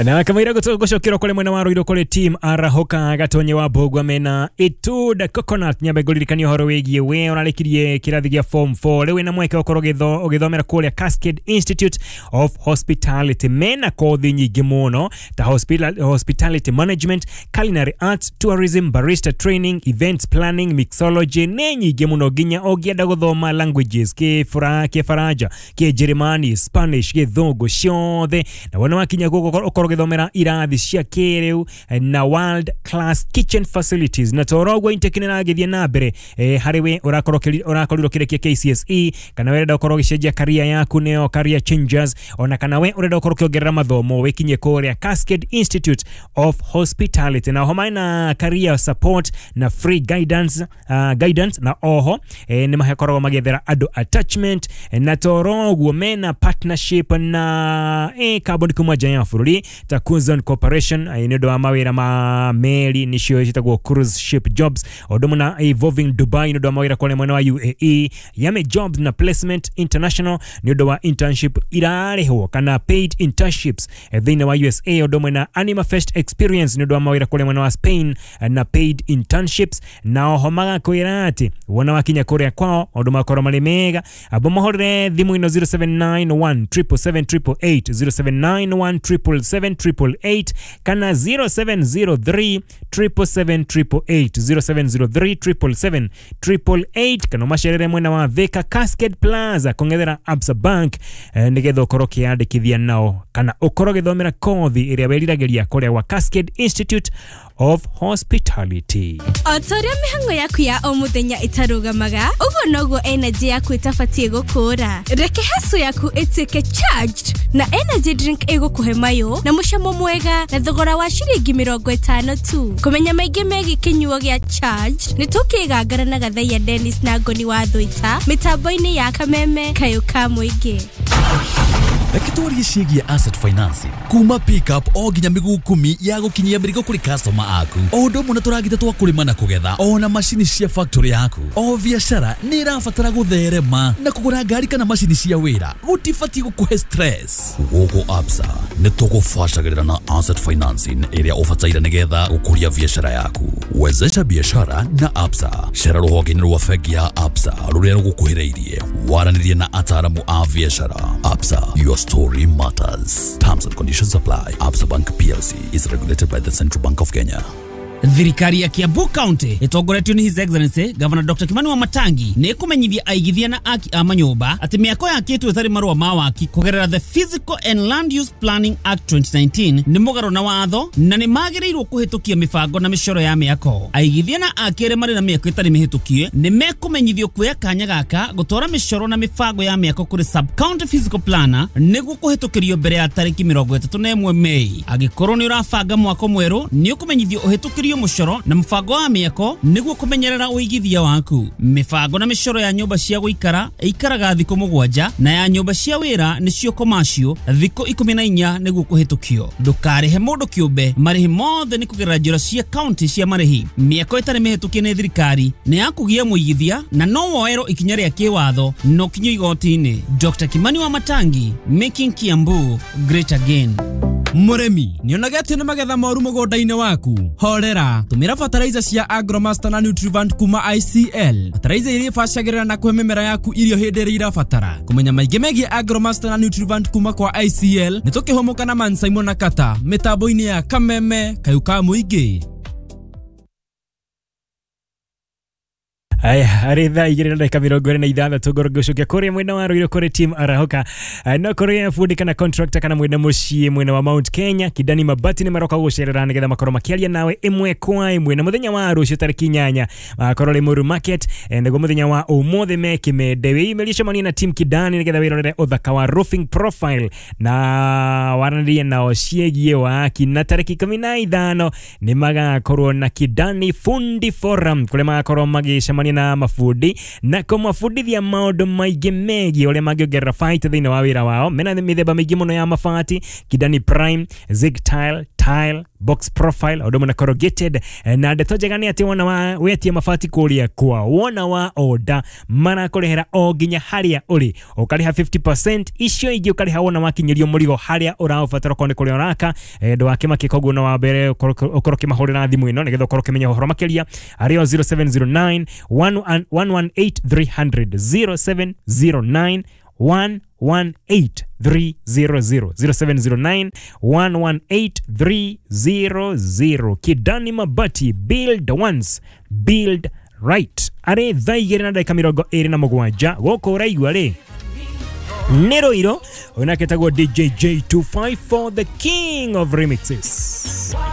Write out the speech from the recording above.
Na kamaira gucokera kuri mwena wa Ruiru kuri team Arahoka Gatonye wa Mbugua mena Ituda Coconut. Nyambe nguririkania uhoro wigie we urarikirie kirathi gia form 4 riu wina mweke ukorwo ugithomera kuria Cascade Institute of Hospitality. Mena kothi nyingi muno ta hospitality management, culinary arts, tourism, barista training, events planning, mixology ne nyingi muno nginya ungienda guthoma languages Kibaraja, Kijerumani, Spanish, Githungu ciothe. Na wona wakinya guko ukorwo githomera irathi cia kiriu na world class kitchen facilities. Na toro intake nĩragĩthiĩ na mbere harĩ we ũrakorirwo kĩrĩkia KCSE, kana we ũrenda ũkorwo ũgĩcenjia career yaku nĩyo career changers, ona kana we ũrenda ũkorwo ũkĩongerera mathomo wĩkinyie kũrĩa Cascade Institute of Hospitality. Na oho mena career support na free guidance, na oho nĩ makoragwo magĩethera andũ attachment. Na toro ũguo mena partnership na kambuni kuma nja ya bũrũri ta Kuzon Corporation nĩ ũndũ wa mawĩra ma meri nĩcio ciĩtagwo cruise ship jobs, ũndũ ũmwe na Evolving Dubai nĩ ũndũ wa mawĩra kũrĩa mwena wa UAE, Yame Jobs na Placement International nĩ ũndũ wa internship irarĩhwo kana paid internships thĩinĩ wa USA, ũndũ ũmwe na Anima Fest Experience nĩ ũndũ wa mawĩra kũrĩa mwena wa Spain na paid internships. Na oho magakwĩra atĩ wona wakinya kũrĩa kwao maũndũ makorwo marĩ mega. Abo mahũrĩre thimũ ĩno 0791 777 888, 0791 777 888 kana 0703 777 888, 0703 777 888 kana macerere mwena wa Thika Cascade Plaza kongethera Absa Bank nigetha ukorwo ũkĩyandĩkithia nao kana ukorwo ũgĩthomera kothi ĩrĩa wĩriragĩria kũrĩa gwa Cascade Institute of Hospitality. O ta ũrĩa mĩhang'o yaku ya o mũthenya ĩtarũgamaga, ũguo noguo energy yaku ĩtabatiĩ gũkũra. Reke hustle yaku ĩtuĩke charged na energy drink ĩgũkũhe mayũ na mũcamo mwega na thogora wa ciringi 50 tu. Kũmenya maingĩ megiĩ kĩnyuo gĩa charged nĩ tũkĩgangara na Gathaiya Dennis na Ngoni wa Thũita mĩtambo-inĩ ya Kameme Kayũ ka Mũingĩ. Reke twarie ciĩgiĩ asset financing kuma pickup o nginya mĩguu 10 ya gũkinyia mĩrigo kũrĩ customer aku, o ũndũ ũmwe na tũragita twa kũrĩma na kũgetha, ona macini cia factory yaku. O biacara nĩ ĩrabatara gũtherema na kũgũra ngari kana macini cia wĩra gũtibatiĩ gũkũhe stress. Gũkũ Absa nĩ tũgũbacagĩrĩra na asset financing ĩrĩa ũbataire nĩgetha gũkũria biacara yaku. Wezesha biashara na Absa. Cera rũhonge-inĩ rwa bengi ya Absa rũrĩa rũgũkuhĩrĩirie, waranĩrie na ataaramu a biacara. Absa, your story matters. Terms and conditions apply. Absa Bank PLC is regulated by the Central Bank of Kenya. Thirikari ya Kiambu County ĩtongoretio nĩ His Excellency Governor Dr. Kimani Wamatangi nĩ ĩkũmenyithia aigithia na aki a manyũmba atĩ mĩako yakĩtwo ĩtarĩ marũa ma waki kũgerera the Physical and Land Use Planning Act 2019 nĩ mũgarũ na watho na nĩ magĩrĩirwo kũhĩtũkia mĩbango na mĩcoro ya mĩako. Aigithia na aki arĩa marĩ na mĩako ĩtarĩ mĩhĩtũkie nĩ mekũmenyithio kuoya kanya gaka gũtwara mĩcoro na mĩbango ya mĩako kũrĩ sub county physical planner nĩguo kũhĩtũkĩrio mbere ya tarĩki 31 Mei. Angĩkorwo nĩ ũrabanga mwako mwerũ nĩ ũkũmenyithio ũhĩtũkĩrio mũcoro na mũbango wa mĩako nĩguo kũmenyerera ũigithia waku. Mĩbango na mĩcoro ya nyũmba cia gũikara ĩikaraga thikũ 7 na ya nyũmba cia wĩra nĩcio commercial thikũ 14 nĩguo kũhĩtũkio. Ndũkarĩhe mũndũ kĩũmbe, marĩhi mothe nĩ kũgerera njĩra cia county cia marĩhi. Mĩako ĩtarĩ mĩhĩtũkie nĩ thirikari nĩ ya kũgia mũigithia na no woerwo ikinya rĩa kĩwatho no kinyo igoti-inĩ. Dr. Kimani Wamatangi, making Kiambu great again. Mũrĩmi nĩonaga atĩ nĩ magetha moru mũgũnda-inĩ waku? Horera, tũmĩra fertilizer cia Agromaster na Nutrivant kuma ICL. Fertilizer iria ibacagĩrĩra na kũhe mĩmera yaku irio hĩndĩ ĩrĩa irabatara. Kũmenya maingĩ megiĩ Agromaster na Nutrivant kuma kwa ICL nĩ tũkĩhũmũka na Man Simon na Kata mĩtambo-inĩ ya Kameme Kayũ ka Mũingĩ. Aya, harĩ thaa 2:26 ngorwo ngĩgũcokia kũrĩa mwena wa Ruiru kũrĩ team Arahoka. No kũrĩ fundi kana contractor kana mwena mũciĩ mwena wa Mount Kenya, Kidani Mabati nĩ maroka gũgũcerera nĩgetha makorwo makĩaria nawe ĩmwe kwa ĩmwe. Na mũthenya wa rũciũ tarĩki 8 makorwo Limuru Market, nĩguo mũthenya wa ũmũthĩ me Kĩmende. Wĩyumĩrie cemania na team Kidani nĩgetha wĩrorere ũthaka wa roofing profile na waranĩrie nao ciĩgiĩ waki. Na tarĩki 15 nĩ magakorwo na Kidani Fundi Forum kũrĩa magakorwo magĩcemania na mabundi na kũmabundithia maũndũ maingĩ megiĩ ũrĩa mangĩongerera baita thĩinĩ wa wĩra wao. Mena mĩthemba mĩingĩ mũno ya mabati: Kidani Prime, Zig Tile, Tile Box profile o na corrugated. Na ndeto njega nĩ atĩ wona wa wetie mabati kũrĩa kwa wona wa order marakũrehera o nginya harĩa ũrĩ, ũkarĩha 50%, icio ingĩ ũkarĩha wona wakinyĩrio mũrigo harĩa ũraũbatara okorwo nĩ kũrĩa ũraka. Ndũgakĩmakie, koguo no wa mbere ũkorwo ũkĩmahũrĩra thimũ ĩno nĩgetha ũkorwo ũkĩmenya ũhoro makĩria arĩ o 0709 118 300, 0709 118 300, 0709 118 300. Kidani Mabati, build once, build right. Arĩ 2:27 gũkũ ũraigua rĩ nĩ Rũirũ, ũyũ nake etagwo DJ J254, the king of remixes.